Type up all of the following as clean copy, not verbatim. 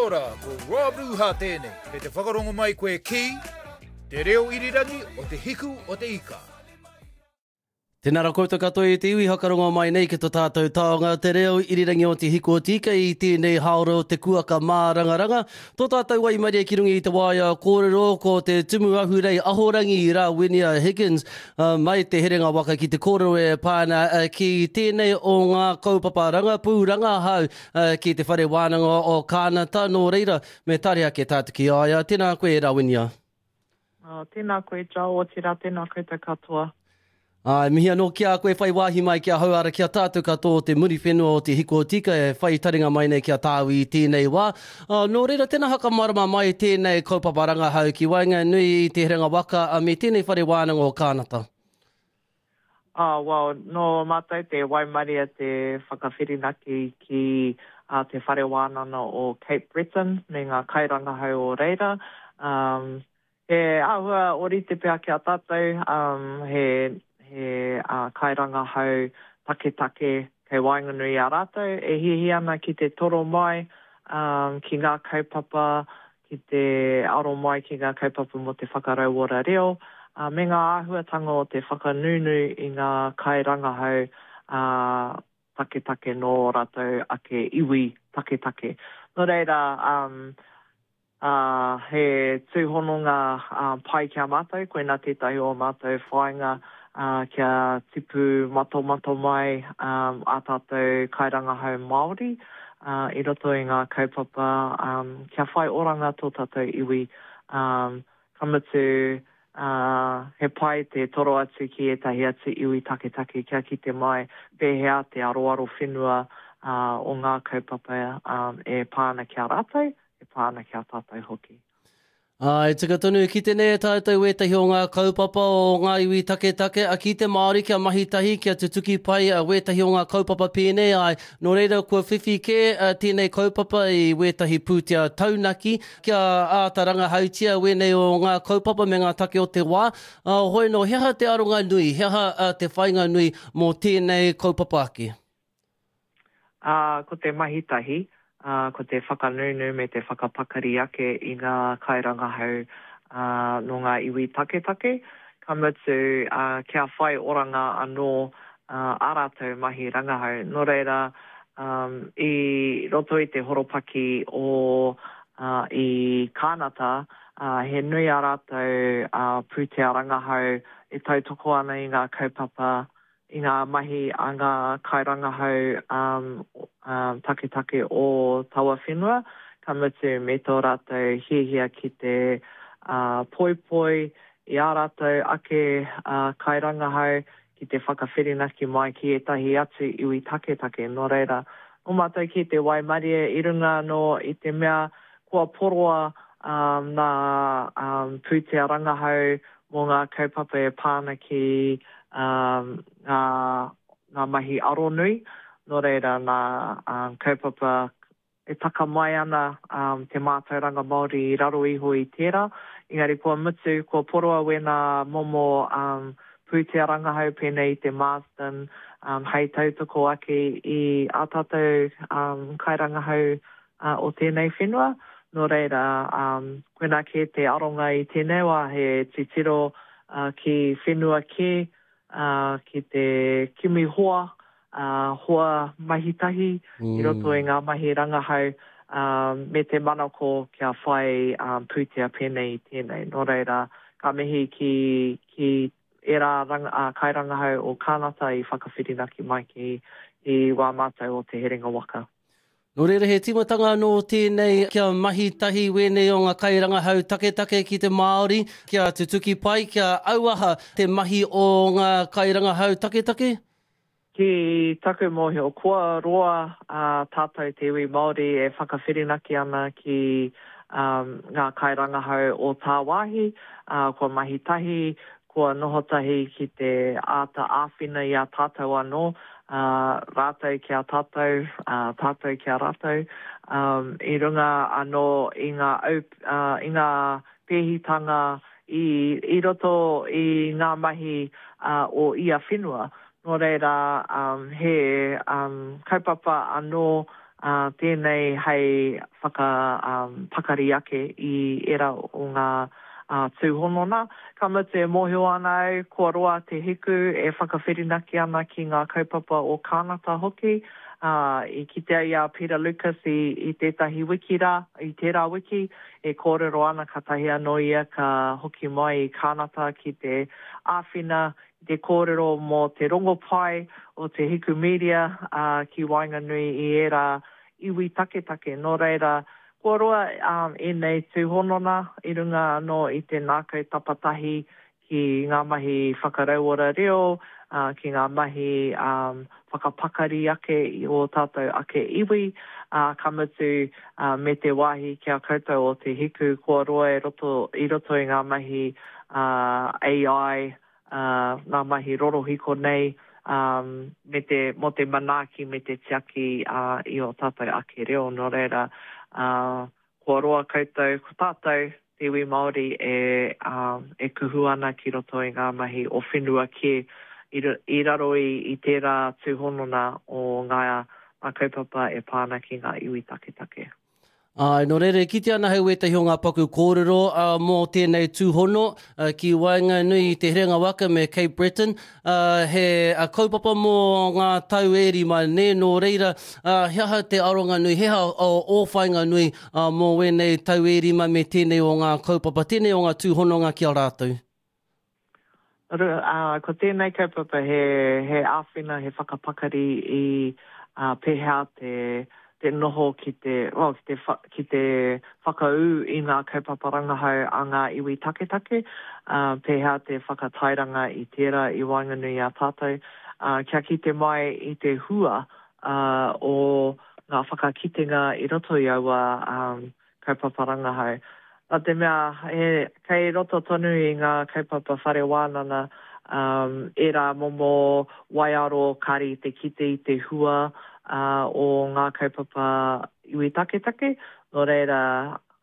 ora, ko Rob Ruha tēnei. Kei te whakarongo mai koe ki Te Reo Irirangi o Te Hiku o Te Ika. Tēnā rā koutou katoa e te iwi whakarongo mai nei ki to tātou taonga te reo irirangi o Te Hiku o Te Ika i tēnei haora o te kuaka mārangaranga. Tō tātou waimarie ki runga i te waea kōrero ko te Tumu Ahurei Ahorangi Rawinia Higgins mai te herenga waka ki te kōrero e pā ana ki tēnei o ngā kaupapa rangapū rangahau ki te Whare Wānanga o Kānata. Nō reira, me tare ake tātou ki a ia. Tēnā koe, Rawinia. Oh, tēnā koe, Joel, otirā tēnā koutou katoa. Āe, mihi anō ki a koe whai wāhi mai ki ahau ara ki a tātou katoa o te Muriwhenua o Te Hiko Tika e whai taringa mai nei ki a tāu i tēnei wā. Nō reira, tēnā whakamārama mai tēnei kaupapa rangahau ki waenganui i Te Herenga Waka me tēnei whare wānanga o Kānata. Oh, well, nō mātou te waimaria te whakawhirinaki ki Te Whare Wānana o Cape Breton me ngā kairangahau o reira. Um, he āhua ōrite pea ki a tātou, um, he, he uh, kairangahau taketake kei waenganui i a rātou e hiahia ana ki te toro mai um, ki ngā kaupapa ki te aro mai ki ngā kaupapa mō te whakarauora reo, ā, me ngā āhuatanga o te whakanūnū i ngā kairangahau ā, taketake nō ō rātou ake iwi taketake. Nō reira, ā, ā, he tūhononga pai ki a mātou, koinā tētahi o ā mātou whāinga, ā, kia tipu matomato mai ā tātou kairangahau Māori, ā, i roto i ngā kaupapa, ā, kia whai oranga tō tātou iwi, ā, ka mutu, ā, he pai te toro atu ki ētahi atu iwi taketake kia kite mai pēhea te aroaro whenua, ā, o ngā kaupapa, ā, e pā ana ki a rātou, e pā ana ki a tātou hoki. Ā, e tika tonu, kite nei e tātou wētahi o ngā kaupapa o ngā iwi taketake, a ki te Māori kia mahi tahi, kia tutuki pai wētahi o ngā kaupapa pēnei, āe, nō reira kua whiwhi kē tēnei kaupapa i wētahi pūtea taunaki kia āta rangahautia wēnei o ngā kaupapa me ngā take o te wā. Ā, hoi nō, he aha te aronga nui, he aha te whainga nui mō tēnei kaupapa ake? Ā, ko te mahi tahi, ā, ko te whakanūnū me te whakapakari ake i ngā kairangahau, ā, nō ngā iwi taketake, ka mutu, ā, kia whai oranga anō, ā, ā rātou mahi rangahau. Nō reira, ā, i roto i te horopaki o, ā, i Kānata, ā, he nui ā rātou, ā, pūtea rangahau e tautoko ana i ngā kaupapa i ngā mahi a ngā kairangahau taketake o taua whenua, ka mutu me tō rātou hiahia ki te poipoi i ā rātou ake kairangahau ki te whakawhirinaki mai ki ētahi atu iwi taketake. Nō reira, nō mātou kē te waimarie i runga anō i te mea kua poroa nā pūtea rangahau mō ngā kaupapa e pā ana ki ngā, ngā mahi aronui, nō reira nā kaupapa e taka mai ana te mātauranga Māori i raro iho i tērā, engari kua mutu, kua poroa wēnā momo pūtea rangahau pēnei i te Marsden hei tautoko ake i ā tātou kairangahau o tēnei whenua. Nō reira, koinā kē te aronga i tēnei wā, he titiro ki whenua kē, ki te kimi hoa, hoa mahi tahi i roto i ngā mahi rangahau, me te manako kia whai pūtea pēnei i tēnei. Nō reira, ka mihi ki, ki ērā kairangahau o Kānata i whakawhirinaki mai ki wā mātou o Te Herenga Waka. Nō reira he tīmatanga anō tēnei kia mahi tahi wēnei o ngā kairangahau taketake ki te Māori, kia tutuki pai, kia auaha te mahi o ngā kairangahau taketake? Ki taku mōhio, kua roa tātou te iwi Māori e whakawhirinaki ana ki ngā kairangahau o tāwāhi, kua mahi tahi, Kua noho tahi ki te āta āwhina i a tātou anō, ā, rātou ki a tātou, ā, tātou ki a rātou, ā, i runga anō i ngā au, ā, i ngā pēhitanga i, i roto i ngā mahi, ā, o ia whenua. Nō reira, ā, he, ā, kaupapa anō, Ā, tēnei hei whakapakari ake i ērā o ngā tūhonona. Ka mutu e mōhio ana au kua roa te hiku e whakawhirinaki ana ki ngā kaupapa o Kānata hoki. Ā, i kitea i a Peter Lucas i, i tētahi wiki rā, i tērā wiki, e kōrero ana kātahi anō ia ka hoki mai i Kānata ki te āwhina i te kōrero mō te rongopai o te Hiku Media ki waenganui i ērā iwi taketake. Nō reira, kua roa ēnei tūhonona i runga anō i te ngākau tapatahi ki ngā mahi whakarauora reo, ki ngā mahi whakapakari ake i ō tātou ake iwi, ā, ka mutu, me te wāhi ki a koutou o Te Hiku, kua roa e roto, i roto i ngā mahi AI, ngā mahi rorohiko nei, me te, mō te manaaki me te tiaki i ō tātou ake reo. Nō reira, Kua roa koutou, ko tātou, te iwi Māori e, e kuhu ana ki roto i ngā mahi o whenua kē i, i raro i, i tērā tūhonona o ngā, ngā kaupapa e pā ana ki ngā iwi taketake. Āe, nō reira e kitea ana hei wētahi o ngā paku kōrero mō tēnei tūhono ki waenganui i Te Herenga Waka me Cape Breton, He kaupapa mō ngā tau e rima, nē, nō reira, he aha te aronga nui, he aha ō whāinga nui mō wēnei tau e rima me tēnei o ngā kaupapa, tēnei o ngā tūhononga ki a rātou? Ko tēnei kaupapa he āwhina, he whakapakari i pēhea te te noho ki te, well, ki te, ki te whakaū i ngā kaupapa rangahau a ngā iwi taketake, ā, pēhea te whakatairanga i tērā i waenganui i a tātou, ā, kia kite mai i te hua, ā, o ngā whakakitenga i roto i aua, ā, kaupapa rangahau. Nā te mea, he, kei roto tonu i ngā kaupapa whare wānanga, um, ērā momo waiaro kāre i te kite i te hua uh, o ngā kaupapa iwi taketake, nō reira,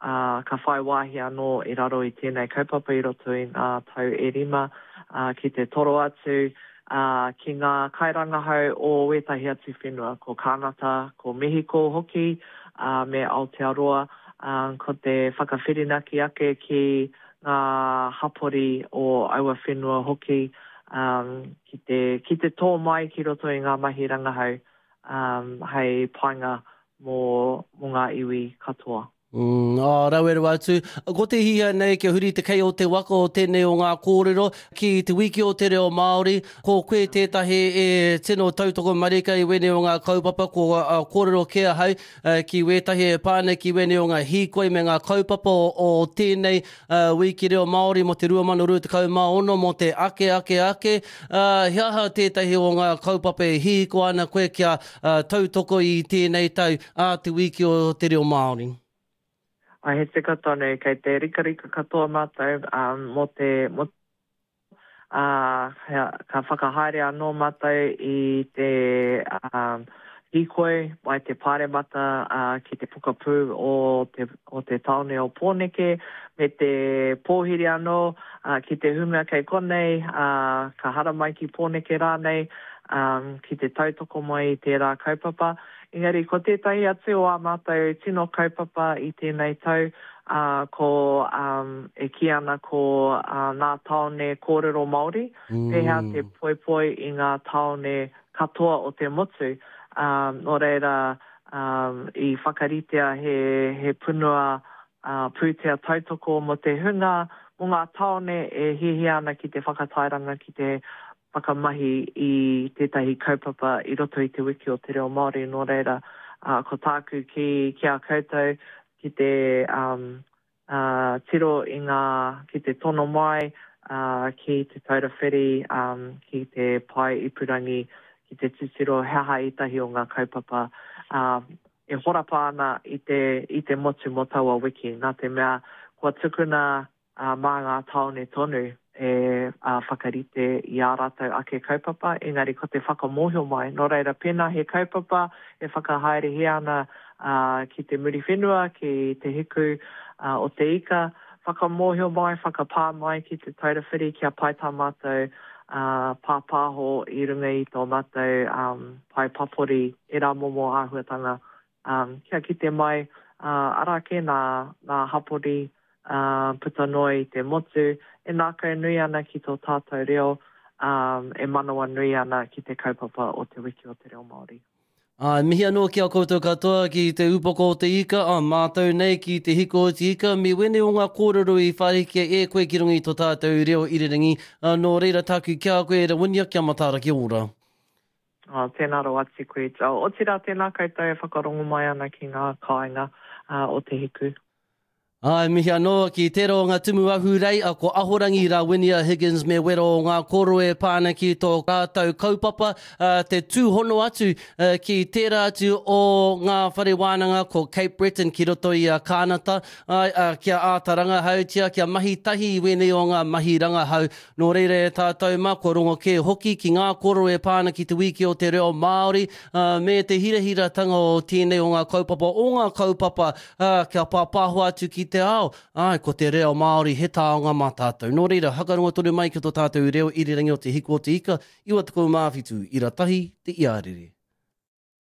uh, ka whai wāhi anō i raro i tēnei kaupapa i roto i ngā tau e rima, uh, ki te toro atu, ā, ki ngā kairangahau o wētahi atu whenua, ko Kānata, ko Mehiko hoki, ā, me Aotearoa, ā, ko te whakawhirinaki ake ki ngā hapori o aua whenua hoki, ā, ki te, ki te tō mai ki roto i ngā mahi rangahau, ā, hei painga mō, mō ngā iwi katoa. Mm, oh, rawe rawa atu. Ko te hihia nei kia huri te kei o te waka o tēnei o ngā kōrero ki te wiki o te reo Māori. Ko koe tētahi e tino tautoko marika i wēnei o ngā kaupapa, ko uh, kōrero kē ahau uh, ki wētahi e pā nei ki wēnei o ngā hīkoi me ngā kaupapa o, o tēnei uh, wiki reo Māori mō te 2026 mō te ake ake ake. Uh, he aha tētahi o ngā kaupapa e hīko ana koe kia tautoko i tēnei tau ā te Wiki o te Reo Māori. Ā, he tika tonu, kei te rikarika katoa mātou mō te, mō, ā, ka whakahaere anō mātou i te hīkoi mai te Pāremata ki te pokapū o te, o te tāone o Pōneke, me te pōhiri anō ki te hunga kei konei, ā, ka haramai ki Pōneke rānei, ki te tautoko mai i tērā kaupapa. Engari ko tētahi atu o ā mātou tino kaupapa i tēnei tau, ko, e kī ana ko Ngā Tāone Kōrero Māori, pēhea te poipoi i ngā tāone katoa o te motu. Nō reira, i whakaritea he punua pūtea tautoko mō te hunga, mō ngā tāone e hiahia ana ki te whakatairanga, ki te whakamahi i tētahi kaupapa i roto i Te Wiki o te Reo Māori, nō reira, ko tāku ki, ki a koutou, ki te tiro i ngā, ki te tono mai, ki Te Taura Whiri, ki te pae ipurangi, ki te titiro he aha ētahi o ngā kaupapa e horapa ana i te, i te motu mō taua wiki, nā te mea kua tukuna ā, mā ngā tāone tonu e whakarite i ā rātou ake kaupapa, engari ko te whakamōhio mai. Nō reira, pēnā he kaupapa e whakahaerehia ana ki te Muriwhenua, ki Te Hiku o te Ika, whakamōhio mai, whakapā mai ki Te Taura Whiri kia pai tā mātou pāpāho i runga i tō mātou pae papori, ērā momo āhuatanga. Kia kite mai, arā kē nā, nā hapori puta noa i te motu e ngākau nui ana ki tō tātou reo, e manawanui ana ki te kaupapa o Te Wiki o te Reo Māori. Ā, mihi anō ki a koutou katoa ki te upoko o te ika, ā, mātou nei ki te hiko o te ika, me wēnei o ngā kōrero i whārikia e koe ki runga i tō tātou reo irirangi, ā, nō reira tāku ki a koe, Rawinia, kia mataara, kia ora. Ā, tēnā rawa atu koe, Joel. Otirā, tēnā koutou e whakarongo mai ana ki ngā kāinga o Te Hiku. Ā, e mihi anō ki tērā o ngā tumu ahurei, a ko Ahorangi Rawinia Higgins me wera o ngā koro e pā ana ki tō rātou kaupapa, ā, te tūhono atu ki tērā atu o ngā whare wānanga ko Cape Breton ki roto i a Kānata, āe, ā, kia āta rangahautia, kia mahi tahi i wēnei o ngā mahi rangahau. Nō reira e tātou mā, kua rongo kē hoki ki ngā koro e pā ana ki Te Wīki o te Reo Māori, ā, me te hirahiratanga o tēnei o ngā kaupapa, o ngā kaupapa, ā, kia pāpāho atu ki te ao, āe, ko te reo Māori he taonga mā tātou. Nō reira, hakarongo tonu mai ki tō tātou reo irirangi o Te Hiku o Te Ika, 97, ira tahi, te iarere.